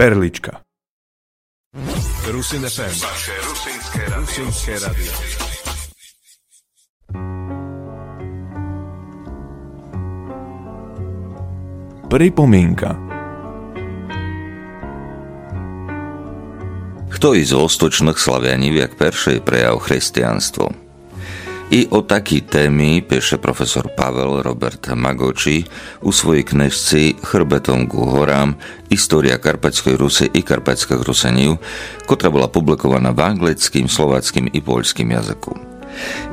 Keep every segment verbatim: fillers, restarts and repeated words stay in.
Erlička. Rusin F M. Vaše rusinské radio. Rusinské radio. Припоминка. Хто из восточных славянів як першый прияв християнство? И о такій теми пише професор Павел Роберт Маґочі у своїй книжци Хрбетом ґу горам: История Карпатьской Руси и карпатьскых Русинів, котра была публикована в анґлицкім, словацкім и польскім языку.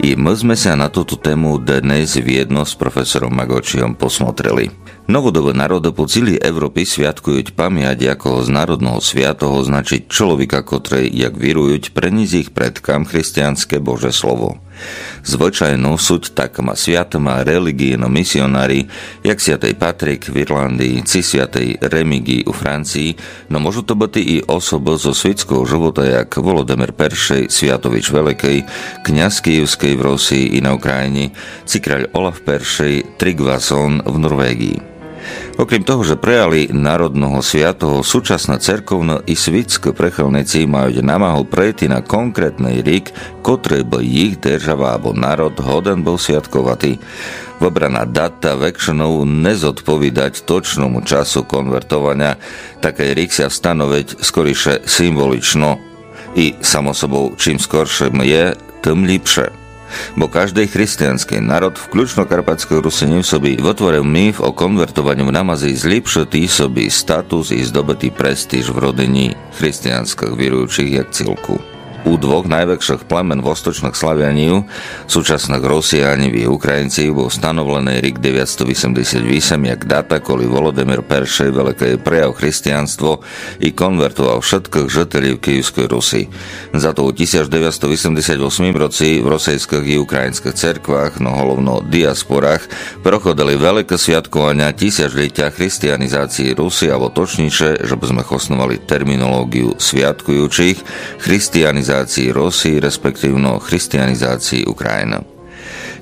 И мы зме ся на туту тему днесь вєдно з професором Маґочійом посмотрели. Новодобы народы по цілій Европі святкують память якогось народного святого, значить, чоловіка, котрый, як вірують, приніс їх предкам християнске Боже слово. Звычайно суть такыма святыма реліґійны місіонарі, як святый Патрік в Ірландії ци святый Реміґій у Франції, но можуть то быти и особы зо світського живота, як Володимир Першый Святович Великый, князь Київскый в Росії и на Україні, ци краль Олаф Першый Тріґвассон в Норвеґії. Окрім того, же прияли народного святого, сучасны церковны и світськы прихильниці мають намагу прийти на конкретный рік, котрый бы їх держава або народ годен быв святковати. Выбрана дата векшынов не зодповідать точному часу конвертованя. Такый рік ся встановить скоріше символічно. И, само собов, чим скорше є, тым ліпше. Бо каждый християнскый народ, включно карпатьскых Русинів, собі вытворив міф о конвертованю в намазі зліпшыти собі статус и здобыти престиж в родині християнскых віруючых як цілку. У двох найвекшых племен восточных славянів, сучасных Росіянів и Українців, быв становленый рік девятсто вісемдесят вісем як дата, коли Володимир Першый Великый прияв християнство и конвертовав вшыткых жителів Київской Руси. Зато у тисяч девятсто вісемдесят восьмім році в російскых и українскых церквах, но головно діаспорах, проходили великы святкованя тисячлітя християнізації Руси, або точніше, же бы зме хосновали термінолоґію святкуючых, християнізації Руси, респективно християнізації Україны.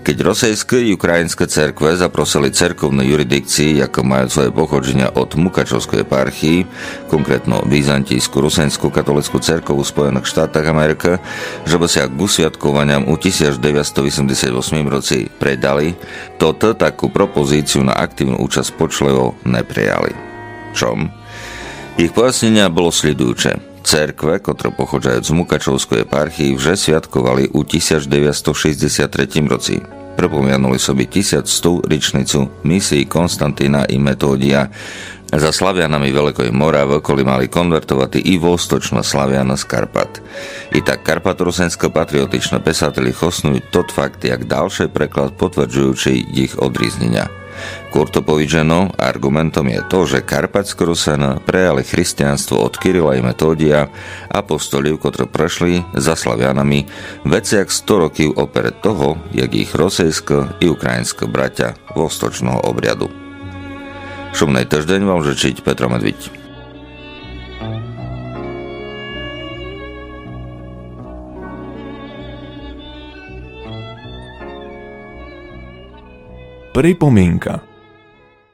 Кедь російскы и українскы церквы запросили церковны юрисдикциі, якы мають своє походжіня од Мукачовской єпархії, конкретно Візантійску русиньску католицку церкву у Споєных Штатах Америкы, же бы ся ґу святкованям у тисяч девятсто вісемдесят восьмім році придали, то ты таку пропозицию на активну учасць почливо не прияли. Чом? Їх поясненя было слідуюче. Церквы, котры походжають з Мукачовской єпархії, вже святковали у тисяч девятсто шістдесят третім році. Припомянули собі тисяч сту річницю місії Константина и Методія. За славянами Великой Моравы, коли мали конвертовати и восточны славяны з Карпат. И так карпаторусиньскы патріотичны писателі хоснують тот факт як далшый приклад, потверджуючый їх одрізненя. Курто повіджено, арґументом є то, же карпатьскы Русины прияли християнство од Кирила и Методія, апостолів, котры пришли за славянами веце як сто років оперед того, як їх російскы и україньскы братя восточного обряду. Шумный тыждень вам жычить Петро Медвідь. Припоминка.